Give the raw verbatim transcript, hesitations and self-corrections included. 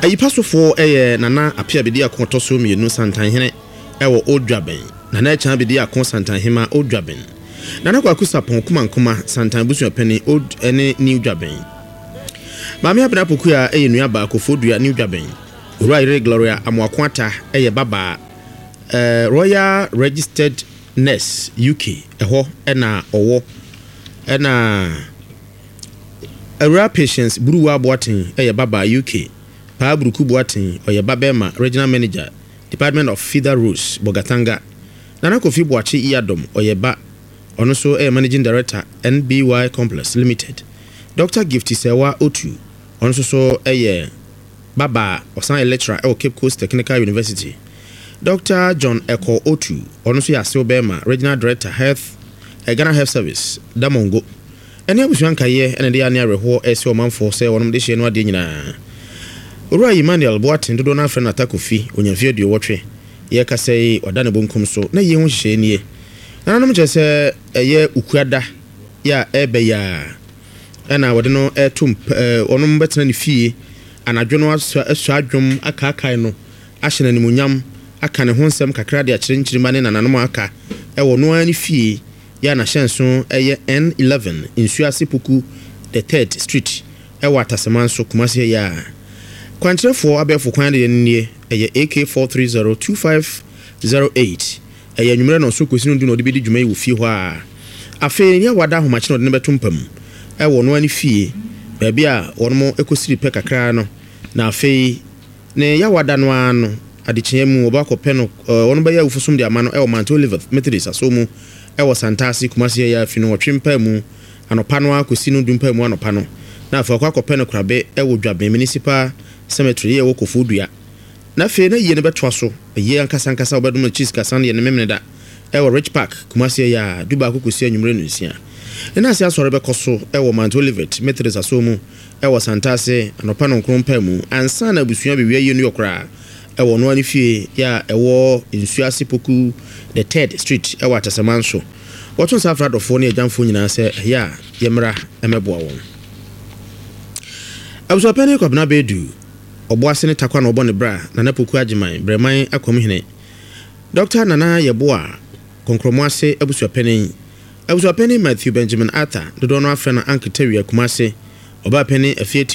Ayipa sofoɔ yɛ Nana Apia Bediako ɔtɔ so mmienu, Santanhene ɛwɔ Old Dwaben, Nana Ɛkyan Bediako, Santanhema, Old Dwaben, Nana Kwaku Sapɔn Kumankoma, Santan busuapɛni, Old ne New Dwaben. Maame Abena Pokua yɛ nua Kofodua, New Dwaben. Owura yere Gloria Amoako Ata yɛ babaa, uh, Royal Registered Nurse, U K ɛhɔ ɛna ɔwɔ. Ɛna Awura Patience Buruwa Boaten yɛ babaa, U K. Paa Buruku Boaten ɔyɛ babɛɛma, Regional Manager, Department of Feeder Roads, Bolgatanga. Nana Kofi Boakye Yiadom ɔyɛ ba, ɔno nso yɛ Managing Director, N B Y Complex Limited. Doctor Gift Sɛwa Otu, ɔno nso so yɛ babaa, ɔsan yɛ lecturer ɛwɔ Cape Coast Technical University. Doctor John Ɛkɔ Otu, ɔno nso yɛ asew bɛrima, Regional Director, Health, eh, Ghana Health Service, Damongo. Ɛne abusua nkaeɛ ɛna de ane awerɛhoɔ ɛsɛ ɔmanfoɔ sɛ wɔnom de hyɛ no adeɛ nyinaa. Owura Emmanuel Boaten, dodoɔ no afrɛ no Atakofi, onyamfie aduowɔtwe yɛkasa yi ɔda ne bonkum so na yie ho hyehyɛ nie. Nananom kyerɛ sɛ ɛyɛ Ukuada yɛ a ɛbɛ yɛ a ɛna wɔde no ɛto ɛɛ wɔnom bɛtena ne fie anadwo no asɔ asɔ adwom akaakae no, ahyɛ no animuonyam, aka ne ho nsɛm kakra de akyerɛ nkyirima ne nananom aka ɛwɔ no ara ne fie yɛ a n'ahyɛnso ɛyɛ N eleven Nsuase Poku the Third Street ɛwɔ Atasɛman so, Kumase. Yɛ a kwankyerɛfoɔ abɛɛfo kwan deɛ no nie, ɛyɛ A K four three zero two five zero eight. Ɛyɛ anwummerɛ na ɔso kɔsi no du na ɔde bɛdi dwuma yi wɔ fie hɔ a afei ne awada ahomakye na ɔde no bɛto mpa mu ɛwɔ no ani fie baabi a wɔnom ɛkɔsiri pɛ kakra no. Na afei ne yawada no ara no adekyeɛ mu wɔbɛ akɔpɛ no, wɔn bɛyɛ awufosom de ama no ɛwɔ Mount Olivet Methodist aso mu ɛwɔ Santase, Kumase. Yɛ afi no wɔtwe mpa mu anɔpa no akɔsi no du mpa mu anɔpa no, na afei ɔkɔ akɔpɛ no korabe ɛwɔ Dwaben Municipal Cemetery yɛ ɛwɔ Kofo Dua. Na afei na yie no bɛtoa so yie ankasa ankasa, wɔbɛdom no cheese kasan yɛ ne memene da ɛwɔ Rich Park, Kumase yɛ a du baako kɔsi anwummerɛ no nsia. Ne ase asɔre bɛkɔ so ɛwɔ Mount Olivet Methodist aso mu ɛwɔ Santase anɔpa no nkron pa mu ansa na abusua bewia yie no yɛ koraa ɛwɔ no ani fie yɛ a ɛwɔ Nsuase Poku the Third Street ɛwɔ Atasaman so. Wɔto nsa afra adɔfoɔ ne agyamfoɔ nyinaa sɛ ɛyɛ a yɛmmra ɛmɛboa wɔn. Abusuapɛni Kwabena Bɛdu Ɔboase ne Takwa na ɔbɔ ne bra Nana Poku Agyeman Brɛman Akwamhene, Doctor Nana Yɛboa Kɔnkrɔmo ase abusuapɛni, abusuapɛni Matthew Benjamin Arthur, dodoɔ no afrɛ no Anketawia, Kumase, ɔbaa pɛni Afieti.